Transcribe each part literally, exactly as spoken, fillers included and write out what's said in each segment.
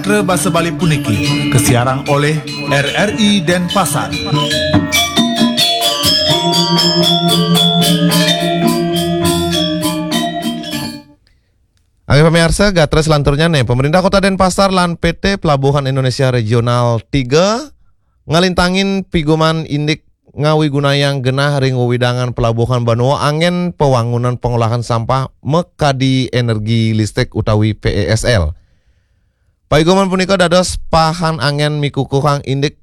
Basa Bali puniki kasiarang oleh R R I Denpasar. Inggih pamiarsa, gatra salanturnya nih, pemerintah Kota Denpasar lan P T Pelabuhan Indonesia Regional tiga ngalintangin pigoman indik ngawigunayang genah ring wewidangan pelabuhan banua anggén pawangunan pengolahan sampah makadi energi listrik utawi P E S L. Paigoman punika dados pahan anggén mikukuhang indik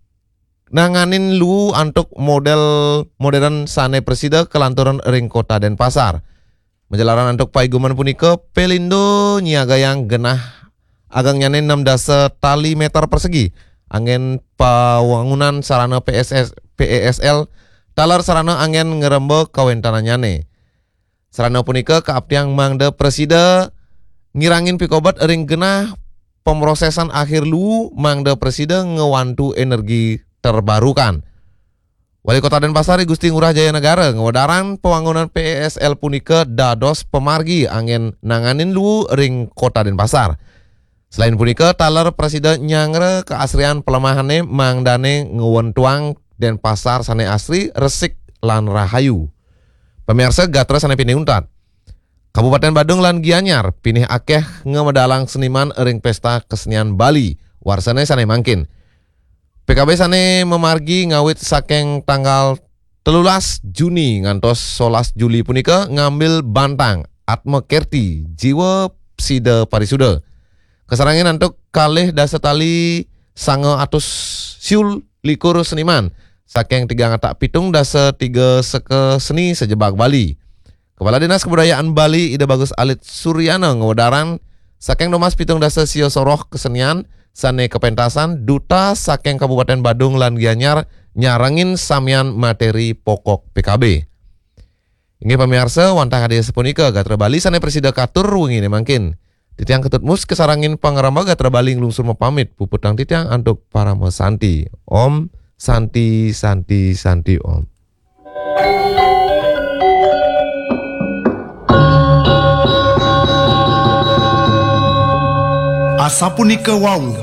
nanganin luu antuk model modern sané prasida kalanturan ring Kota Denpasar. Majalaran antuk paigoman punika, Pelindo nyiagayang genah agangnyané enam dasa tali meter persegi anggén pawangunan sarana P S S, P E S L taler sarana anggén ngremba kawéntenannyané. Sarana punika kaaptiang mangda prasida ngirangin pikobet ring genah pemrosesan akhir luu mangda prasida ngwantu energi terbarukan. Wali Kota Denpasar, I Gusti Ngurah Jaya Negara, ngwedarang pawangunan P E S L punika dados pamargi anggén nanganin luu ring Kota Denpasar. Selain punika, taler prasida nyangra kaasrian palemahané mangdané ngwentuang Denpasar sané asri, resik, lan rahayu. Pamiarsa, gatra sané pinih untat. Kabupaten Badung lan Gianyar pinih akéh ngamedalang seniman ring Pesta Kesenian Bali warsané sané mangkin. P K B sané mamargi ngawit saking tanggal telulas Juni ngantos solas Juli punika ngambil bantang Atma Kerti Jiwa Sida Parisuda. Kasarengin antuk kalih dasa tali sanga atus siu likur seniman saking tigang atak pitung dasa tiga seka seni sajebag Bali. Kepala Dinas Kebudayaan Bali, Ida Bagus Alit Suryana, ngwedarang saking nunas pitung dasa sia soroh kesenian sané kapentasan, duta saking Kabupaten Badung lan Gianyar nyarengin samian materi pokok P K B. Inggih pamiarsa, wantah kadi sapunika gatra Bali sané prasida katur wenginé mangkin. Titiang Ketut Mus kasarengin pangrembag gatra Bali nglungsur mapamit, puputang titiang antuk parama santi. Om Santi, Santi, Santi, Om. Asapunika wau,